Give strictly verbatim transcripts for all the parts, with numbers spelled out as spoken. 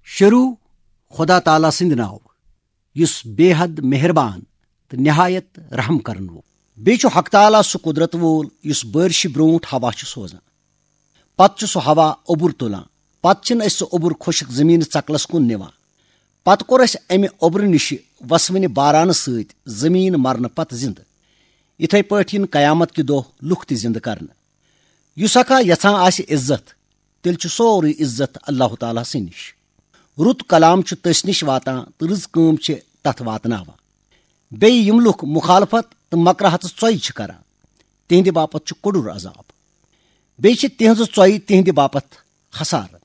شروع خدا تعالیٰ سٕنٛدِ ناوٕ، یُس بے حد مہربان تہٕ نہایت رحم کرن وول۔ بیٚیہِ چھُ حق تعالیٰ سُہ قدرت وول یُس بٲرشہِ برونٛٹھ ہوا چھُ سوزان۔ پتہٕ چھُ سُہ ہوا اوٚبُر تُلان۔ پتہٕ چھِنہٕ أسۍ سُہ اوٚبُر خۄشک زٔمیٖنہٕ ژکلس کُن نِوان۔ پتہٕ کوٚر اَسہِ اَمہِ اوٚبرٕ نِشہِ وسوٕنہِ بارانہٕ سۭتۍ زٔمیٖن مرنہٕ پتہٕ زِندٕ۔ یِتھے پٲٹھۍ یِن قیامت کہِ دۄہ لُکھ تہِ زِندٕ کرنہٕ۔ یُس اکھا یژھان آسہِ عزت، تیٚلہِ چھُ سورُے عزت اللہ تعالیٰ سٕے نِش۔ رُت کلام چھُ تٔسۍ نِش واتان تہٕ رٕژ کٲم چھِ تتھ واتناوان۔ بیٚیہِ یِم لُکھ مخالفت تہٕ مکراہتس ژۄیہِ چھِ کران، تِہنٛدِ باپتھ چھُ کوٚڈُر عذاب۔ بیٚیہِ چھِ تِہنٛزٕ ژۄیہِ تِہنٛدِ باپتھ خسارٕ۔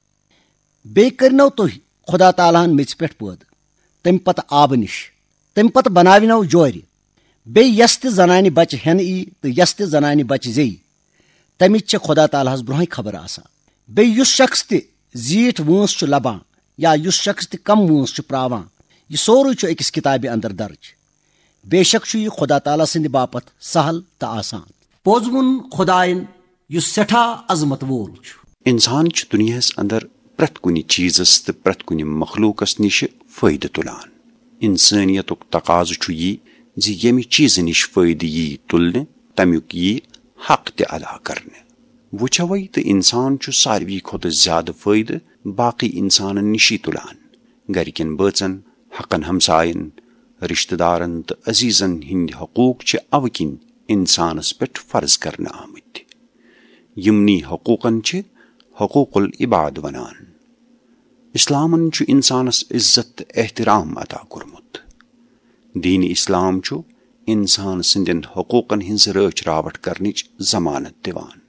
بیٚیہِ کٔرنو تُہۍ خدا تعالیٰ ہن میٚژِ پٮ۪ٹھ پٲدٕ، تمہِ پتہٕ آبہٕ نِش، تمہِ پتہٕ بناونو جورِ۔ بیٚیہِ یس تہِ زنانہِ بچہِ ہٮ۪نہٕ یی تہٕ یس تہِ زنانہِ بچہِ زیٚیہِ، تمِچ چھےٚ خدا تعالیٰ ہس برونٛہے خبر آسان۔ بیٚیہِ یُس شخص تہِ زیٖٹھ وٲنٛس چھُ لبان یا یُس شخص تہِ کم وٲنٛس چھُ پراوان، یہِ سورُے چھُ أکِس کِتابہِ اندر درج۔ بے شک چھُ یہِ خدا تعالیٰ سٕنٛدِ باپتھ سہل تہٕ آسان۔ پوٚز ووٚن خدایَن، یُس سٮ۪ٹھاہ عظمت وول چھُ۔ انسان چھُ دُنیاہس اندر پرٛٮ۪تھ کُنہِ چیٖزس تہٕ پرٛٮ۪تھ کُنہِ مخلوقس نِش فٲیدٕ تُلان۔ انسٲنیتُک تقاضہٕ چھُ یہِ زِ ییٚمہِ چیٖزٕ نِش فٲیدٕ یی تُلنہٕ، تمیُک یی حق تہِ ادا کرنہٕ۔ وُچھوے تہٕ انسان چھُ ساروی کھۄتہٕ زیادٕ فٲیدٕ باقٕے انسانن نِشی تُلان۔ گرِکٮ۪ن بٲژن، حقن ہمساین، رشتہٕ دارن تہٕ عزیزن ہٕنٛدۍ حقوق چھِ اوٕ کِنۍ انسانس پٮ۪ٹھ فرض کرنہٕ آمٕتۍ۔ یِمنٕے حقوقن چھِ حقوق العباد ونان۔ اسلامن چھُ انسانس عزت تہٕ احترام عطا کوٚرمُت۔ دین اسلام چھُ انسان سٕنٛدٮ۪ن حقوقن ہٕنٛز رٲچھ راوٹھ کرنٕچ ضمانت دِوان۔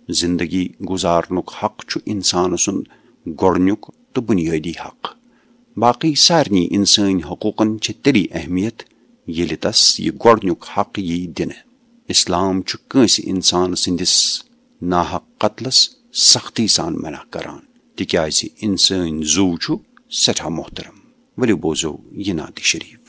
زندگی گُزارنُک حق چھُ انسان سُنٛد گۄڈٕنیُک تہٕ بُنیٲدی حق۔ باقٕے سارنٕے انسٲنی حقوقن چھِ تیٚلی اہمیت، ییٚلہِ تس یہِ گۄڈٕنیُک حق یی دِنہٕ۔ اسلام چھُ کٲنٛسہِ انسان سٕنٛدِس ناحق قتلس سختی سان منع کران، تِکیازِ انسٲنی زُو چھُ سٮ۪ٹھاہ محترم۔ ؤلِو بوزو یہِ نعتِ شریف۔